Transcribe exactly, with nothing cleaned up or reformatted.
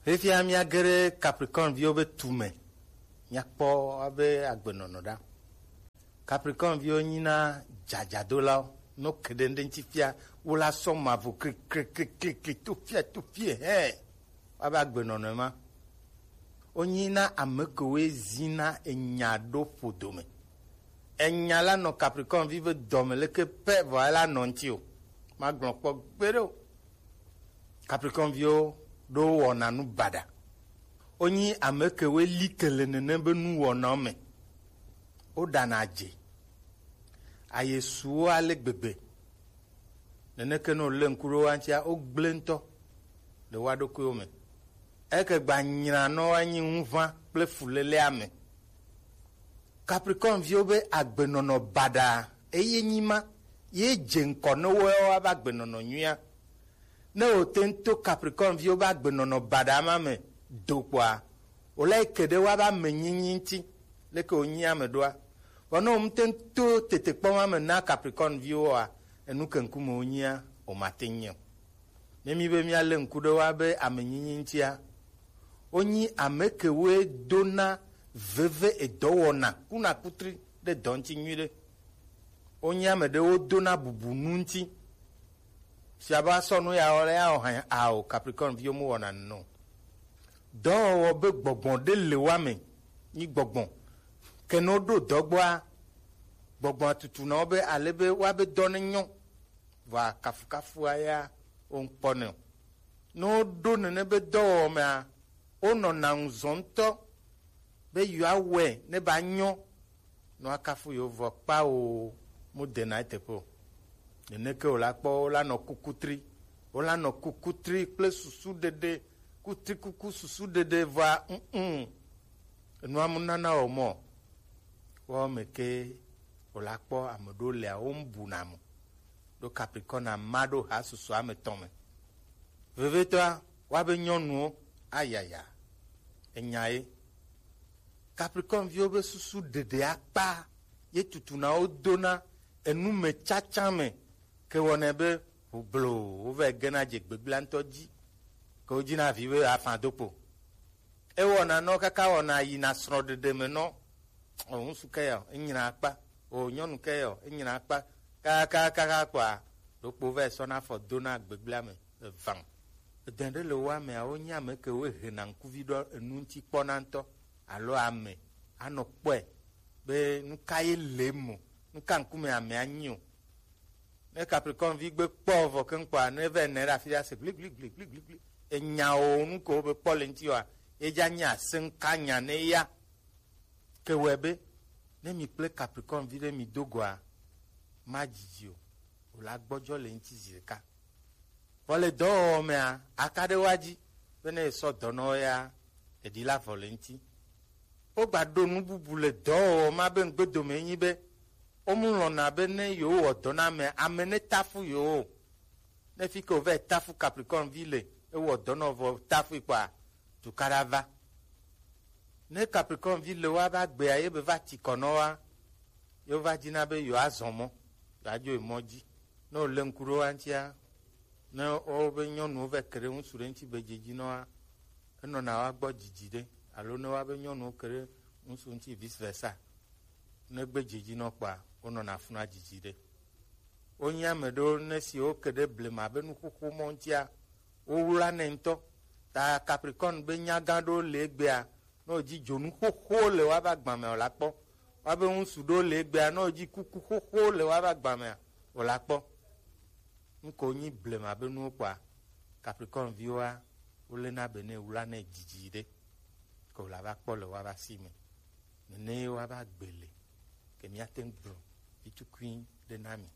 Fifia míage ɖe Capricorne viwo be tu me, míakpɔ wobe agbenɔnɔ ɖa. Capricorne viwo nyina dzadzadolawo. No ke ɖe ŋɖe ŋuti fia, wola sɔ mavɔ kliklikliklikli to fia to fie hɛ. Woabe agbenɔnɔ ma. Wonyina ame kewoe zina enya ɖo ƒodo me. Enya la nɔ Capricorne vi be dɔme leke pɛ vɔ ela nɔ ŋuti o. Magblɔ kpɔ gbeɖe o. Capricorne viwo ɖo wɔna nu baɖa. Wonyi ame kewoe li ke le nene be nuwɔnawo me. Woɖana adze. Ayesuwo ale gbegbe. Neneke ne wòlé ŋku ɖe woa ŋutia, wogblẽ ŋutɔ le woa ɖokuiwo me. Eke gba nyranɔ woanyi ŋuʋã kple fuléléa me. Capricorne viwo be agbenɔnɔ baɖa eye nyi ma ye dze ŋkɔ ne woawo ava agbenɔnɔ nyuia. Ne wòte ŋu to Capricorne viwo be agbenɔnɔ baɖa ma me do kpɔa, wòle ke ɖe woabe amenyinyi ŋuti, leke wònyi ame ɖoa. Vɔ ne wòmte ŋu to tetekpɔ ma me na Capricorne viwo oa, enu ke ŋkume wonyia, wòmate ŋu nyi o. Ne mi be míalé ŋku ɖe woabe amenyinyi ŋutia, wonyi ame kewoe dona veve edɔwɔna kunakutri ɖe dɔ ŋuti nyuiɖe. Wonyi ame ɖewo dona bubu nu ŋuti. Fia be asɔ nu ya wɔ le ya wɔ hã ao, Capricorne viwo mu wɔna nɔ. Dɔwɔwɔ be gbɔgbɔ ɖe le wa me, nyi gbɔgbɔ. Ke ne woɖo dɔ gbɔa, gbɔgbɔ tutu na wo be ale be woabe dɔ ne nyɔ. Vɔa kafukafua ya wo ŋkpɔ nɛ o. Ne woɖo nene be dɔwɔwɔ mea, wonɔna ŋuzɔ ŋutɔ be yewoawɔe ne ba nyɔ. Ne woakafu yewo vɔ kpao, mu dena eteƒe o. Neneke wòla kpɔ, wola nɔ kukutri, wola nɔ kukutri kple susu ɖeɖe, kutrikuku susu ɖeɖe vɔa, mm, enua mu nana wɔ mɔ. Woawo me ke wòla kpɔ ame ɖewo lea, wo ŋu buna mo. Ɖo Capricorne ama ɖo ha susua me tɔn me. Vevietɔa, woabe nyɔnuwo, ayaya, enya ye. Capricorne viwo be susu ɖeɖe akpa ye tutuna wo dona enu me tsatsa me, ke wɔnɛ be ʋublo wova gena dze gbegblẽa ŋutɔ dzi, ke wodina vi be afã do kpo. Ewɔna nɔ kaka wɔna yina srɔ̃ɖeɖe me nɔ. O ŋutsu ke ya o, enyina akpa. O nyɔnu ke ya o, enyina akpa. Kakakaka kpɔa, ɖokpo va yi sɔna afɔ dona gbegblẽa me evã. Edã ɖe le woa mea, wonye ame ke woe hena ŋkuvi ɖo enu ŋuti kpɔna ŋutɔ alo ame anɔ kpɔe be nu ka ye le eme o, nu ka ŋkume amea nyi o. Ne Capricorne vi gbe kpɔ vɔ keŋ kpɔa, ne va nɛ ɖe afi ɖe ase gli gli gli gli gli gli. Enya o nu ko be kpɔ le ŋuti oa, ye dza nyi aseŋka nya ne ya. Ke wɔe be, ne mi kple Capricorne vi ɖe mi do goa, ma dzidzi o, o la gbɔdzɔ le ŋuti zi ɖeka. Vɔ le dɔwɔwɔ mea, aka ɖe woa dzi, be ne esɔ dɔ nɔ wo ya, eɖi la vɔ le ŋuti. Wogba ɖo nu bubu le dɔwɔwɔ ma be ŋgbedome nyi be, womu lɔ̃na be ne yewowɔ dɔ na ame, ame ne tafu yewo o. Ne fi ke wòva tafu Capricorne vi le, ewɔ dɔ nɔ vɔ tafu kpɔa, tukaɖa va. Ne Capricorne vi le woa va gbea, ye be va ti kɔ nɔ wa, ye wova dina be yewoazɔ mɔ, yewoadzo yi mɔ dzi. Ne wòle ŋku ɖe woa ŋutia, ne wobe nyɔnuwo va ke ɖe ŋutsu ɖe ŋuti be dzedzi nɔa, enɔna woa gbɔ dzidzi ɖe, alo ne woabe nyɔnuwo ke ɖe ŋutsu ŋuti vice versa, ne gbe dzedzi nɔ kpɔa, wonɔna funua dzidzi ɖe. Wonye ame ɖewo ne si woke ɖe blema be nuxoxo mɔ ŋutia, wowlanɛ ŋutɔ. Ta Capricorne be nyagã ɖewo le egbea, ne wòdzi dzonu xoxo le woabe agba mea, wòla kpɔ. Woabe ŋutsu ɖewo le egbea, ne wòdzi kuku xoxo le woabe agba mea, wòla kpɔ. Nu ke wonyi blema be nuwo kpɔa, Capricorne viwoa, wolena be ne wlanɛ dzidzi ɖe, ke wòla va kpɔ le woabe asi me. Nene ye woabe agbe le, ke míate ŋu gblɔ vitukui ɖe na mi.